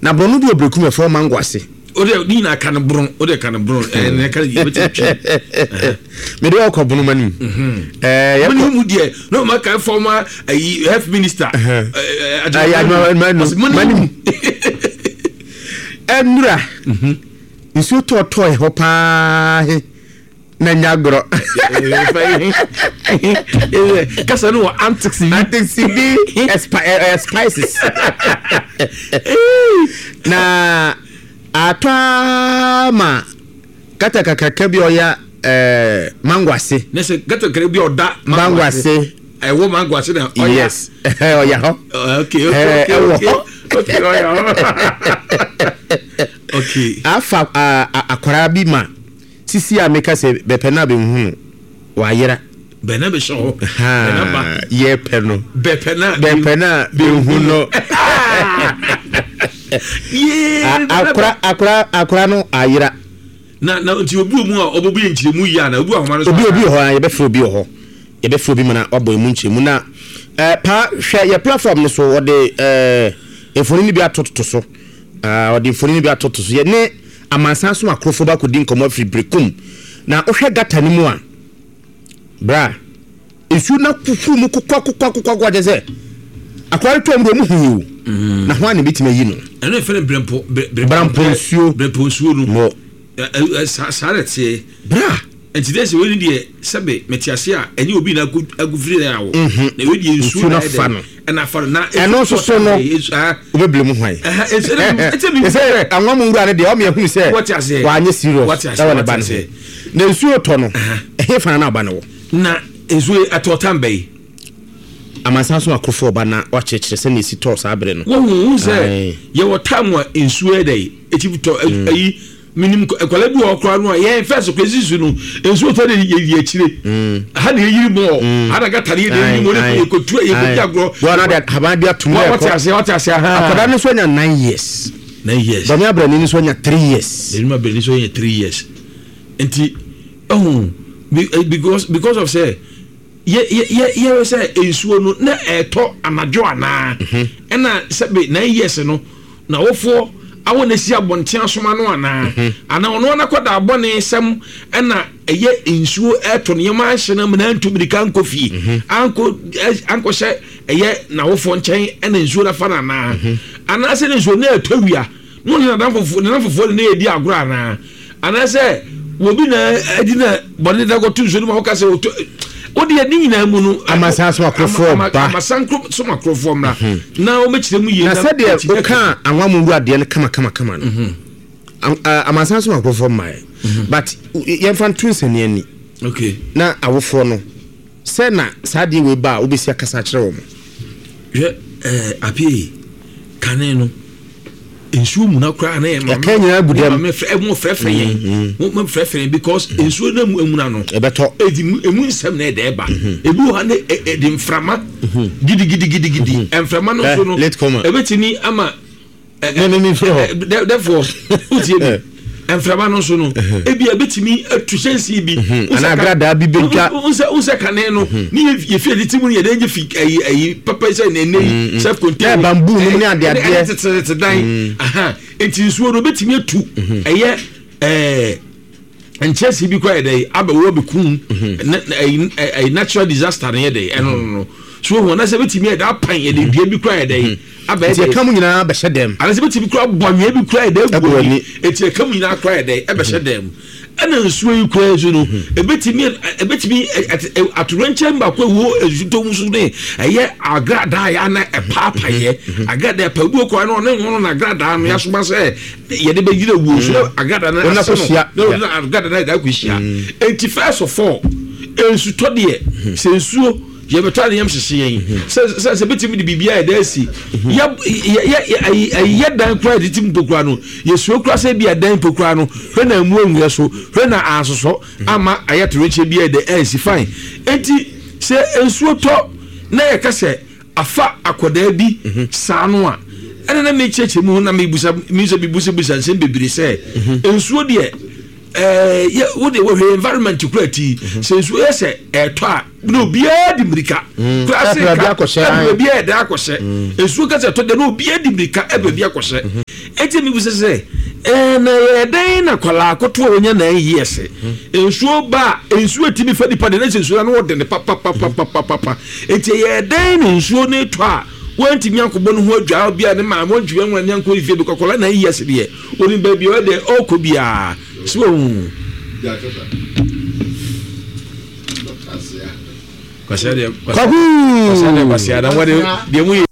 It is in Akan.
Na borɔno bi wɔ Berekum ɛfrɛ mango ase. O de ne nyinaa ka no boron, o de ka no boron, ɛɛ ne ka yɛ bɛtumi twi. Mede ɔkɔ bono ma nim. Ɛɛ yɛ kɔ. Mu deɛ na ɔma ka former ayi health minister. Ɛɛ adwuma ma nim. Ɛnura nsuo tɔɔtɔɔ hɔ paa he. Na nya agorɔ. Kasa no wɔ antics bi. Antics bi ɛyɛ spices. Na atɔ ara ma gata kakraka bi a ɔya ɛɛ mango ase. Ne sɛ gata kakraka bi a ɔda mango ase. Ɛwɔ mango ase na ɔya. Yes, ɔya hɔ. Okay, okay, okay. Ɛwɔ hɔ. Okay, ɔya hɔ. Okay. Afa akwaraa bi ma. Sisi a meka sɛ bɛpɛ no a bɛnhu no, wayera. Bɛ na bɛhyɛ hɔ, bɛ na ba. Yɛpɛ no. Bɛpɛ no a. Bɛpɛ no a bɛnhu no. Akora akora akora no ayera. Na na nti obi wɔ mu a ɔbɛbu yɛ nkyerɛmu yie ana obi wɔ ahoma no so. Obi obi wɔ hɔ a yɛbɛfrɛ obi wɔ hɔ yɛbɛfrɛ obi ma na wabɔ emu nkyerɛmu na ɛɛ paa hwɛ yɛ platform no so wɔde ɛɛ mfonini bi atototo so ɛɛ wɔde mfonini bi atoto so yɛ ne. Amansan so akorofo ba kɔdi nkɔmmɔ afiri Berekum. Na wohwɛ gata no mu a, bra, nsuo no ahuhuru mu kokwakokwakokwakwa kyɛ sɛ akwadaa no tɔɔ mu deɛ ɔmo hui o. Mm. Na ho a na ebetumi ayi no. Ɛno yɛ fɛn brɛmpo brɛmpo nsuo. Brɛmpo nsuo no. Mo. Saa na ɛteɛ. Bra. Nti dɛ sɛ wei ni deɛ sɛbe mete ase a ɛnyɛ obi na agu firi na awo. Mhm. Na wei deɛ nsuo na afa no. Ɛna afa no na ɛno nso so no wobɛbile mu hwan. Ɛsɛ anwa mu nwura no deɛ ɔmo yɛhunu sɛ wanyɛ serious ɛwɔ ne ba no ho. Na nsuo tɔ no ɛhe fa na ɔba no wɔ. Na nsuo ɛtɔ tam bɛyi. Amansan so akorofo ɔba na wakyerɛkyerɛ sɛnea esi tɔɔ saa bere no. Wohu hu sɛ yɛwɔ tam a nsuo yɛ dɛ eti tɔ ayi. Menim nkwadaa bi wɔ hɔ koraa no a yɛn fɛs kɔ esi su no nsuo tɔ de yɛ yɛ akyire mm. ha na yɛyiri mɔɔ mm. ha na gata ne yɛ de yɛyiri mɔɔ ne yɛ kɔtu yɛ kɔdi agorɔ. Wɔn na de haban bi atum na ɛkɔ wɔte ase wɔte ase ahan. Akwadaa no nso anya 9 years. 9 years. Dɔmi abrani nso anya 3 years. Dɔmi abrani nso anya 3 years nti ɛho eh, because of sɛ yɛ yɛ yɛ yɛ sɛ nsuo no na ɛtɔ anadwo anaa mhm. ɛna sɛbe 9 years no. N'awofoɔ awo no asi abɔnten asoma no anaa? Anaa ɔno ara n'akwadaa bɔne sɛm na ɛyɛ nsuo ɛreto nneɛma ahye no amena antu mirika ankɔ fie ankɔ ankɔhyɛ ɛyɛ n'awofoɔ nkyɛn ɛna nsuo no afa no anaa? Anaasɛ ne nsuo no ɛretɔ awia na ɔne n'adamfofoɔ ne n'adamfofoɔ ne no redi agorɔ anaa? Anaasɛ obi na adi na bɔne da kɔto nsuo no ma woka sɛ ɔtɔ wodeɛ ne nyinaa mu no amasan so akorofoɔ ba amasan so akorofoɔ mmra mhm. na wɔbɛkyerɛ mu yie na sɛdeɛ woka anwa mu wura deɛ no kama kama kama no mhm. Amansan so akorofoɔ mmaeɛ mhm. But yɛmfa nto nsani ani okay. Na awofoɔ no sɛ na saa deɛ wei ba a wobɛsi akasa akyerɛ wɔ mo. Hwɛ ɛɛ apie kane no nsuo muna koraa na yɛ maame ɛka nyinaa gu dɛm maame fɛ ɛmo frɛfrɛ yɛn mo mo frɛfrɛ yɛn because mm. Nsuo na mu emuna no ɛbɛtɔ edi mu emu nsɛm na ɛda ɛba mm-hmm. Ebi wɔ ha ne ɛdi nframa mm-hmm. Gidigidigidigidi mm-hmm. Nframa no nso no ɛbɛtumi ama ɛ ɛ mi firi hɔ therefore wotie mi nframa no nso no ebi ebetumi atu hyɛnsi bi. Ana agradaa bi bɛ dwa. Nsɛ kane no ne yɛ fi adi ti mu no yɛ dɛ nye fi ayi ayi papa sɛ na ɛnɛ yi self contained. Ɛ bambu nom ne adeadeɛ. Ɛne tete dan. Nti nsuo no ebetumi atu ɛyɛ ɛɛ nkyɛnse bi kora yɛ dɛ abɛwɔ bɛkum ɛyi natural disaster no yɛ dɛ ɛno no no so ohun anasɛ ebetumi yɛ dɛ apan yɛ dɛ dua bi kora yɛ dɛ abɛyɛ dɛ. Nti ɛka mu nyinaa bɛhyɛ dɛm. Anasɛ ebetumi kora bɔ anwea bi kora yɛ dɛ egu ani eti ɛka mu nyinaa kora yɛ dɛ ɛbɛhyɛ dɛm ɛna nsuo yi kora nso no ebetumi ebetumi atorenkyɛn baako ɛwɔ nsutɔ mu so ne ɛyɛ agradaa yɛ ana ɛpaapayɛ agradaa pa ebi wɔ kora no ɔne ho na agradaa no yasoma sɛ yɛde bɛgyina wuo so na agrada no ase no na agrada no ayɛ akɔhyia enti first of all nsutɔ deɛ sɛ nsuo yɛbɛtɔ a ne yam hyehye yɛn sɛ sɛ sɛ bɛtumi de biribi ayɛ dɛ asi yɛ yɛ yɛ yɛ dan koraa yɛde ti mpo koraa no yɛsuo koraa sɛ bi adan mpo koraa no hwɛ na emu anwia so hwɛ na asosɔ ama ayɛ torenkyɛ bi ayɛ dɛ ansi fine enti sɛ nsuo tɔ na yɛka sɛ afa akwadaa bi saa no a, ɛna na mekyerɛkyerɛ mu na mebusa mesɛ mebusabisa nsɛm bebree sɛ mhm. nsuo deɛ ɛɛ yɛ wo deɛ wɔhwɛ environment kura ti mhm. Sɛ nsuo yɛ sɛ ɛɛtɔ a na obiara di mirika mm. Kura se nka ɛbɛ bi ɛda akɔhyɛ mm. Nsuo kasa ɛtɔ deɛ na obiara di mirika ɛbɛ bi akɔhyɛ mhm. Eti mi bisa sɛ, ɛɛ na ɛyɛ dɛn na akwadaa akoto a wɔnya 9 years, nsuo ba a, nsuo etimi fa nipa de, na sɛ nsuo no ano ɔden papapapapapa. Eti ɛyɛ dɛn na nsuo no etɔ a, wɔntumi ankɔbɔ ne ho adwaa bi a ne maame wɔntumi anwura ne ankɔ ne fie bi kɔkɔla 9 years deɛ, onim baabi a ɔyɛ dɛ ɔkɔ biara. So wɔn. Kwaku!